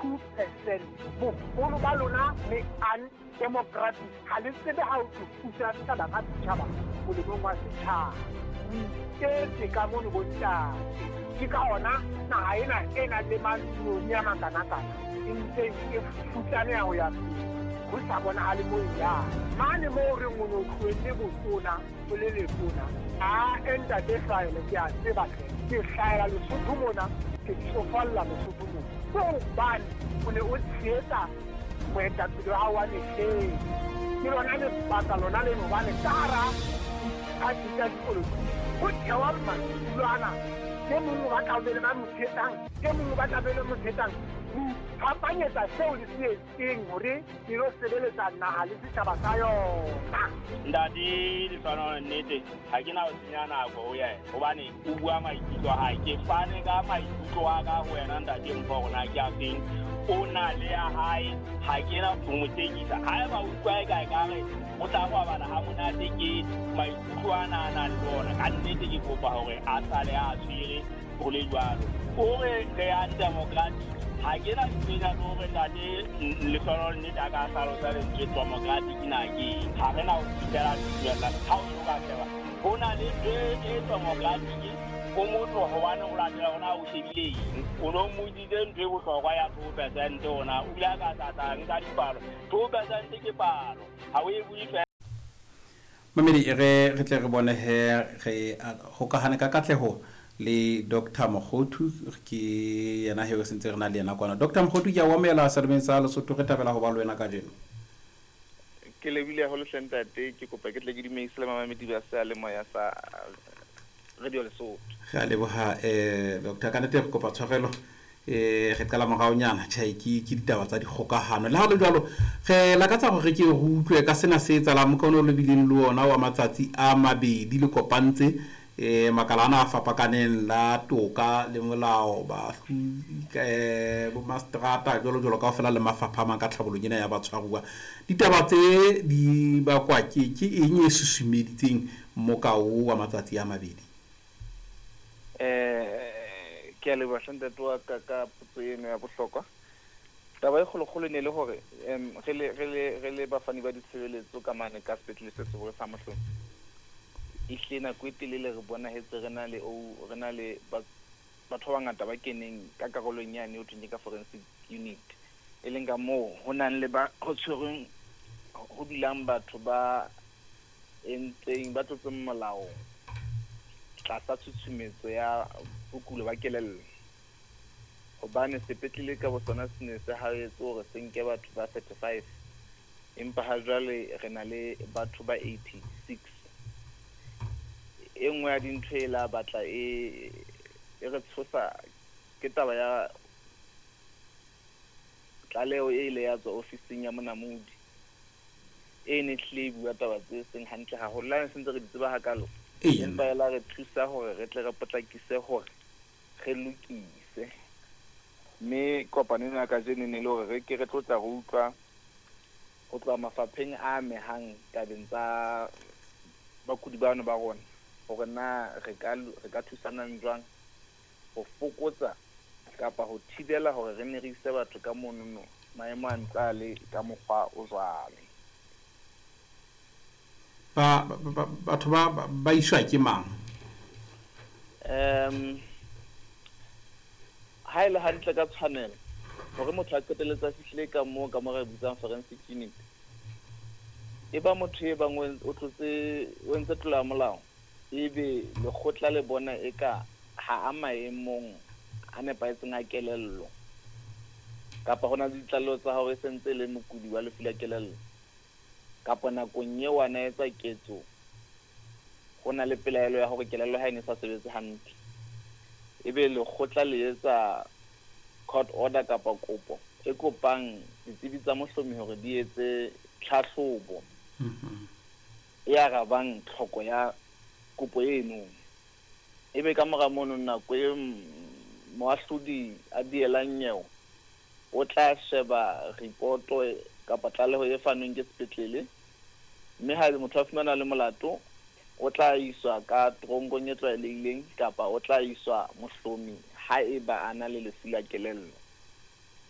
2%. Boholo ba lona le undemocratic, ha le tsebe ha ho thwe puso ya setjhaba ka setjhaba molemong wa setjhaba. O iketse ka mono bontate. Ke ka hona naha ena e nang le manoni a makanakana e ntseng e futsaneha ho ya pele, ho sa bonahale moo e yang. Mane moo re reng o ne o tlohelle botona o le letona, ae ntate Hlwaelo ke a tseba hle. Ke hlahela Lesotho mona, ke tsofalla Lesotho mona. Ke hobane o ne o tshehetsa moetapele wa hao wa mehleng. Ke lona lebaka lona leno hobane ka hara diphathi tsa dipolotiki ho thewa maikutlo ana. E mong o batla ho be le ba mo tshehetsang, e mong o batla be le mo tshehetsang. Ho iphapanyetsa seo le se etseng hore le lo sebeletsa naha le setjhaba sa yona. Ntate Lehlohonolo, nnete ha ke na ho senya nako ho yena hobane o bua maikutlo a hae. Ke fane ka maikutlo a ka ho wena ntate Mpho hore na ke a feng. O na le ya hae, ha ke na ho mo tekisa. Haeba o utlwa eka ekare o tla robala ha monate ke maikutlo ana a nang le ona, ka nnete ke kopa hore a sale a tshwere ho le jwalo. O re re undemocratic, ha ke na ntho ena le hore ntate Lehlohonolo nnete a ka hlalosa lentswe democratic na ke eng. Ha re na ho fihlela tumellano. Ha o so ka sheba ho na le ntho e democratic ho motho hobane o latela hore na o shebile eng. O no mmotsitse ntho e bohlokwa ya 2% hore na o ile a ka tla nka dipalo. 2% ke palo, ha o e bue fela. Mamedi, e re re tle re bone he re hokahane ka katleho le Doctor Mokhothu, ke yena he re sentse re na le yena kwana. Doctor Mokhothu, ke a o amohela Selemeng sa Lesotho, re thabela ho ba le wena kajeno. Ke lebohile haholo hle ntate, ke kopa ke tle ke dumedise le mamamedi ba seyalemoya sa Radio Lesotho. Re a leboha Doctor, ka nnete re kopa tshwarelo eh re qala moraonyana tjhe ke ke ditaba tsa dikgokahano. Le ha ho le jwalo, re lakatsa hore re ke re utlwe ka sena se etsahalang mokana o le bileng le ona wa matsatsi a mabedi le kopantse eh makala ana a fapakaneng la toka le molao, baahlodi, eh bomastrata jwalo jwalo kaofela le mafapha a mang ka tlhabolong ena ya batshwaruwa. Ditaba tse di bakwa ke ke eng e susumeditseng mmoka oo wa matsatsi a mabedi? Eh, ke a leboha hle ntate wa ka ka potso eno ya bohlokwa. Taba e kgolokgolo e ne e le hore em, re le re le re le bafani ba ditshebeletso ka mane ka sepetlele se seholo sa Mohlomi, ehlile nako e telele re bonahetse re na le o re na le ba batho ba bangata ba keneng ka karolong yane ho thweng ke ka forensic unit, e leng ka moo ho nang le ba ho tshwerweng ho dulang batho ba entseng ba tlotseng molao tlasa tshutshumetso ya bokulo ba kelello. Hobane sepetlele ka bosona se ne se haetse hore se nke batho ba 35, empa ha jwale re na le batho ba 86. E nngwe ya dintho e la batla e e re tshosa ke taba ya tlaleho e ile ya tswa ofising ya monamodi e ne hlile e bua taba tse seng hantle haholo. Le ha ne se ntse re di tseba hakalo, empa e la re thusa hore re tle re potlakise hore re lokise. Mme kopano ena ya kajeno e ne e le hore re ke re tlo tla re utlwa ho tloha mafapheng a amehang tabeng tsa bakudi bano ba rona hore na re ka re ka thusanang jwang ho fokotsa kapa ho thibela hore re ne re ise batho ka monono maemo a ntse a le ka mokgwa o jwalo. Ba, ba, batho ba, ba, ba iswa ke mang? Um, ha e le hantle ka tshwanelo hore motho a qetelletse a fihlile ka moo ka mo re bitsang forensic unit, e ba motho e bang o tlotse o entse tlolo ya molao, ebe lekgotla le bona eka ha a maemong a nepahetseng a kelello, kapa ho na le ditlaleho tsa hore e se ntse e le mokudi wa lefu la kelello, kapa nakong eo a na etsa ketso ho na le pelaelo ya hore kelello ha e ne sa sebetse hantle, ebe lekgotla le etsa court order kapa kopo e kopang ditsebi tsa mohlomi hore di etse tlhahlobo e arabang tlhoko ya kopo eno. Ebe ka mora mono nako e moahlodi a dielang nyewe o tla sheba ripoto kapa tlaleho e fanweng ke sepetlele, mme haebe motho a fumanwa a le molato, o tla iswa ka teronkong e tlwaelehileng kapa o tla iswa mohlomi haeba a na le lefu la kelello.